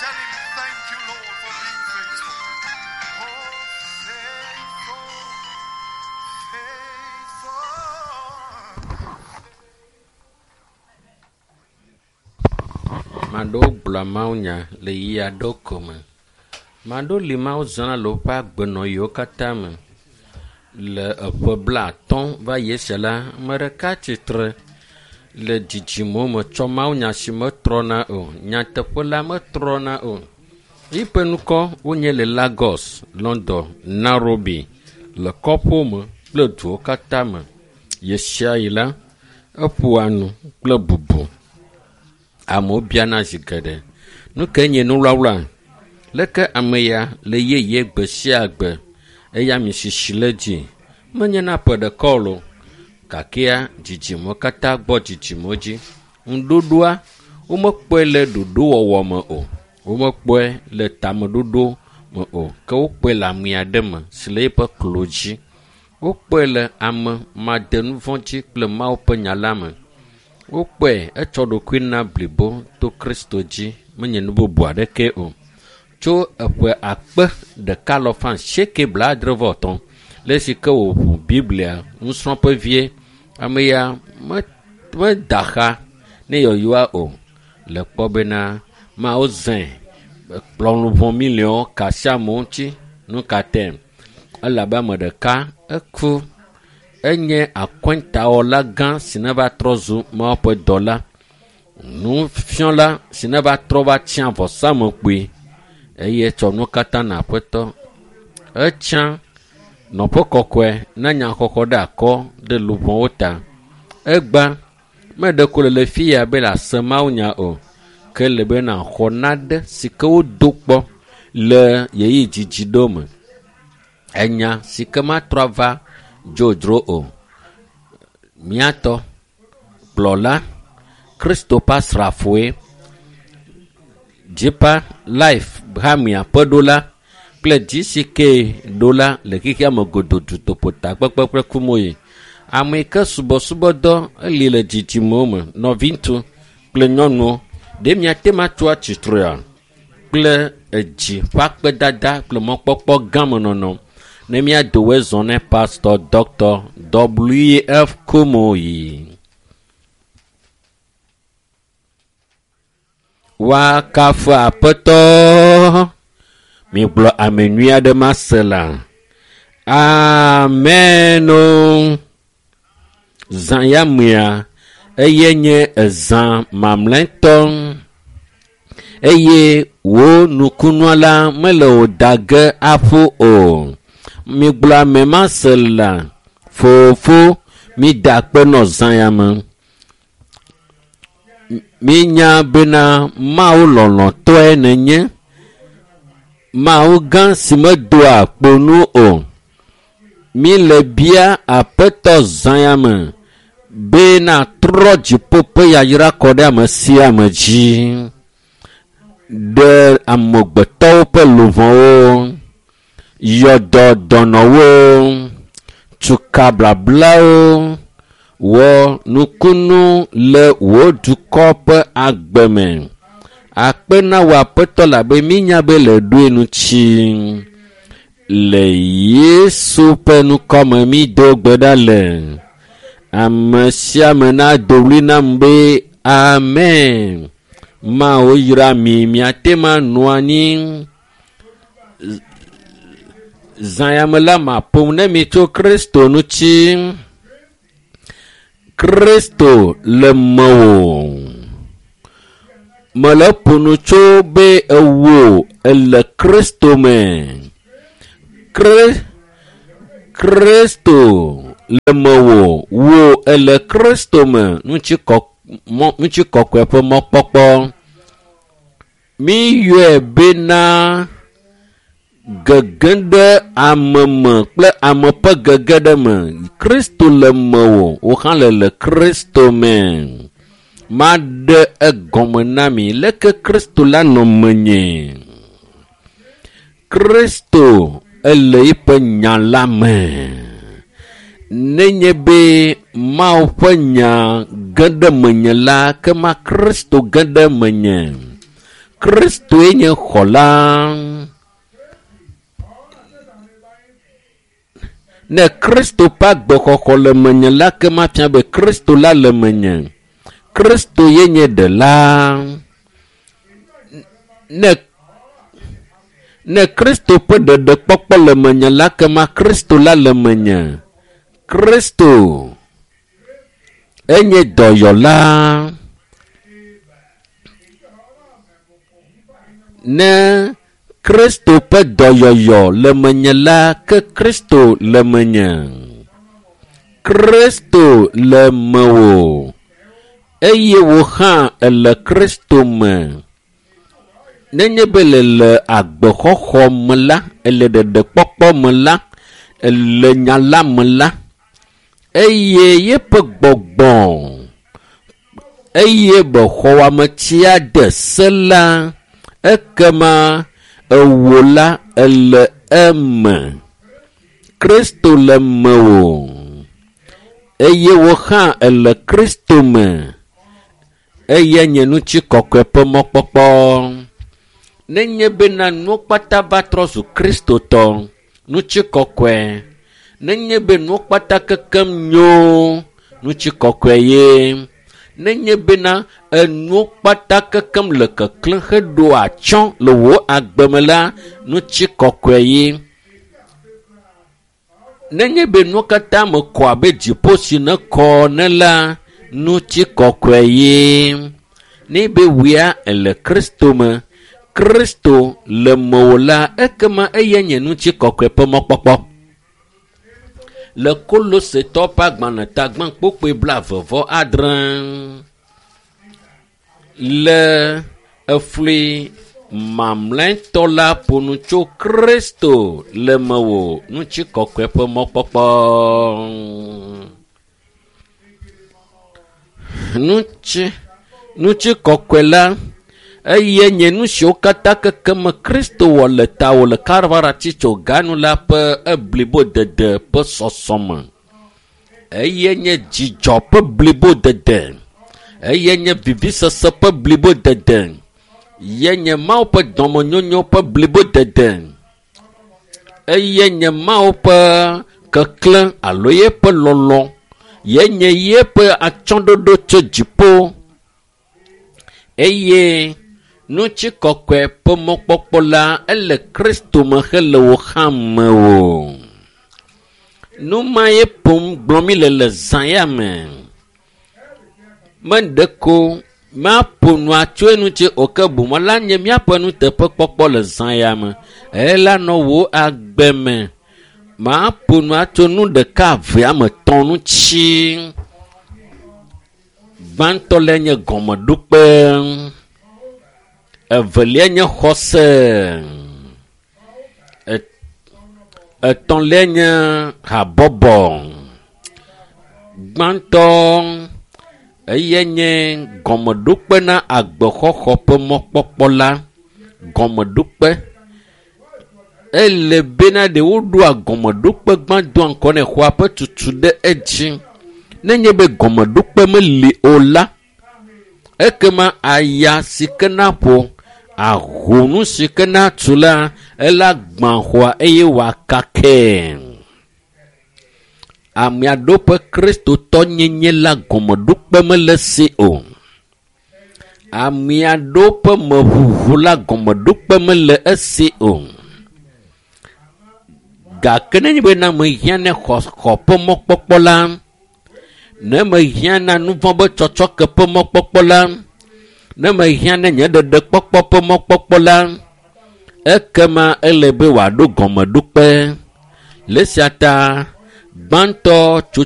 Tell him, thank you, Lord, for being faithful. Oh, faithful, faithful. Maɖewo gblɔa mawunya le ɣeyiɣi aɖewo ko me. Maɖewo li Mawu zãna le woƒe agbenɔɣiwo katã me. Le eƒe 50 va yi esia la, ame ɖeka tsitre le dzidzimewo me tsɔ mawunya si metrɔna o. Nyateƒe la metrɔna o. Yiƒe ŋkɔ wonye le Lagos, London, Nairobi, le kɔƒewo me kple duwo katã me. Ɣesiaɣi la, eƒoa nu kple bubu. Amewo biana zi geɖe. Nu kae nye nuwlawla? Leke ame ya le yeye gbe sia gbe eye ami sisi le dzi? Menye na ƒe ɖeka o loo gakea dzidzimewo katã gbɔ dzidzimewo dzi. Ŋuɖoɖoa, womekpɔe le ɖoɖowɔwɔ me o. Womekpɔe le tameɖoɖo me o. Ke wokpɔe le ame aɖe me si le eƒe klo dzi. Wokpɔe le ame madenuvɔ̃ dzi kple Mawu ƒe nya la me. Wokpɔe etsɔ ɖokui na blibo to Kristo dzi menye nu bubu aɖeke o. Tso eƒe 1883 le esi ke wòʋu Biblia nusrɔ̃ƒe vie, ame ya meda xa ne yɔyɔa o. Le kpɔ bena Mawu zãe kplɔ luʋɔ miliɔnwo ka asi amewo ŋuti. Nu ka tae? Elabe ame ɖeka eku enye akɔntawɔla gã si ne va trɔ zu Mawu ƒe dɔla. Nufiɔla si ne va trɔ va tsiã vɔsamlekpui eye etsɔ nuwo katã na Aƒetɔ. Etsã nɔƒe kɔkɔe na nyaxɔxɔ ɖe akɔ ɖe luʋɔwo ta. Egba meɖe ko le le fi ya be le ase mawunya o ke le be naxɔ nane si ke wodo kpɔ le ɣeyiɣi dzidzi ɖewo me. Enya si ke matrɔ ava dzodzro o. Míatɔ, kplɔla, Kristo ƒe asrafoe, Deeper Life hamea ƒe ɖola kple GCK ɖola le xexea me godoo dutoƒo takpekpe kple kumoyi. Ame yi ke subɔsubɔdɔ eli le dzidzimewo me, nɔviŋutsu kple nyɔnuwo, ɖe miate ŋu atso atsitrea kple edzi ƒe akpedada kple mɔkpɔkpɔ gã me nɔnɔ ne míado woe zɔ ne Pastor Dr. W.F. Kumuyi. Woakafu Aƒetɔ. Migblɔ ame nyui aɖe mase la. Amen. Zã ya mea, eye nye ezã mamlɛtɔ eye wò nukunua la mele wò da ge aƒu o. Migblɔ ame mase la. Fofo, mida akpe nɔ zã ya me. Mínya bena Mawu lɔlɔ̃tɔe nenye. Mawu gã si medoa kpo nu o. Míle bia Aƒetɔ zã ya me be natrɔ dziƒo ƒe yayra kɔ ɖe ame sia ame dzi. Ɖe amegbetɔwo ƒe luʋɔwo, yɔ dɔ dɔnɔwo, tuka blablawo, wɔ nukunu le wò dukɔ ƒe agbe me. Akpe na wò Aƒetɔ labe mínya be le ɖoe ŋuti. Le Yesu ƒe ŋkɔme mído gbe ɖa le. Ame sia ame nado ɣli nam be amen. Mawu yra mi, miate ŋu anɔ anyi. Zã ya me la maƒo nu ne mi tso Kristo ŋuti. Kristo le mewò. Mele ƒo nu tso be ewò ele Kristo me. Kristo le mewò, wò ele Kristo me. Ŋutikɔkɔe ƒe mɔkpɔkpɔ. Míyɔe bena gege ɖe ame me kple ame ƒe gege ɖe me. Kristo le mewò, wò hã le le Kristo me. Maɖe egɔme na mi leke Kristo la nɔ menye. Kristo ele eƒe nya la me. Nenye be Mawu ƒe nya ge ɖe menye la, ke ma Kristo ge ɖe menye. Kristoe nye xɔla. Ne Kristo ƒe agbexɔxɔ le menye la, ke mafia be Kristo la le menye. Kristo ye nye ɖela. Ne Kristo ƒe ɖeɖekpɔkpɔ le menye la, kema Kristo la le menye. Kristo enye dɔyɔla. Ne Kristo ƒe dɔyɔyɔ le menye la, ke Kristo le menye. Kristo le mewò eye wò hã èle Kristo me. Nenye be le le agbexɔxɔ me la, ele ɖeɖekpɔkpɔ me la, ele nya la me la, eye yeƒe gbɔgbɔ eye be xɔwɔametia de se la, ekema ewò la ele eme. Kristo le mewò eye wò hã ele Kristo me. Eye nye ŋutikɔkɔe ƒe mɔkpɔkpɔ. Nenye bena nuwo kpata va trɔ zu Kristotɔ, ŋutikɔkɔe. Nenye be nuwo kpata kekem nyo, ŋutikɔkɔe ye. Nenye bena enuwo kpata kekem le keklẽ heɖo atsyɔ̃ le wò agbe me la, ŋutikɔkɔe ye. Nenye be nuwo katã me kɔ abe dziƒo si ne kɔ ene la, ŋutikɔkɔe ye. Ne be wòya ele Kristo me, Kristo le mewò la, ekema eya nye ŋutikɔkɔe ƒe mɔkpɔkpɔ. Le Kolosetɔ ƒe agbalẽ tagbã kpokpoe 26 le efli mamlɛtɔ la ƒo nu tso Kristo le mewò ŋutikɔkɔe ƒe mɔkpɔkpɔ. Ŋutikɔkɔe la eye nye nu siwo katã kekeme Kristo wɔ le tawò le Kalvari atitsoga nu la ƒe eblibodede ƒe sɔsɔme. Eye nye dzidzɔ ƒe blibodede. Eye nye vivisese ƒe blibodede. Ye nye Mawu ƒe dɔmenyonyo ƒe blibodede. Eye nye Mawu ƒe keklẽ alo yeƒe lɔlɔ. Ye nye yeƒe atsyɔ̃ɖoɖo tso dziƒo. Eye ŋutikɔkɔe ƒe mɔkpɔkpɔ la ele Kristo me hele wò hã mewò. Nu ma ye ƒom gblɔm mi le zã ya me. Meɖeko maƒo nua tso eŋuti o ke boŋ la nye míaƒe nuteƒekpɔkpɔ le zã ya me. Ela nɔ wò agbe me. Maƒo nua tso nu ɖeka eve ame etɔ̃ ŋuti. Gbãtɔ le nye gɔmeɖokpe. Evelia nye xɔse. Etɔ̃lia nye habɔbɔ. Gbãtɔ eye nye gɔmeɖokpe na agbexɔxɔ ƒe mɔkpɔkpɔ la. Gɔmeɖokpe. Ele bena ɖe woɖoa gɔmeɖokpe gbã doa ŋgɔ ne xɔa ƒe tutu ɖe edzi. Nenye be gɔmeɖokpe meli o la, ekema aya si ke na ƒo, aho nu si ke na tu la, ela gbã xɔa eye wòakakɛ. Ame aɖewo ƒe kristotɔnyenye la gɔmeɖokpe mele si o. Ame aɖewo ƒe meʋuʋu la gɔmeɖokpe mele esi o. Gake nenye be na mehiã ne xɔ ƒe mɔkpɔkpɔ la, ne mehiã na nu vɔ̃ be tsɔtsɔke ƒe mɔkpɔkpɔ la, ne mehiã ne nye ɖeɖekpɔkpɔ ƒe mɔkpɔkpɔ la, ekema ele be wòaɖo gɔmeɖokpe. Le esia ta gbãtɔ tso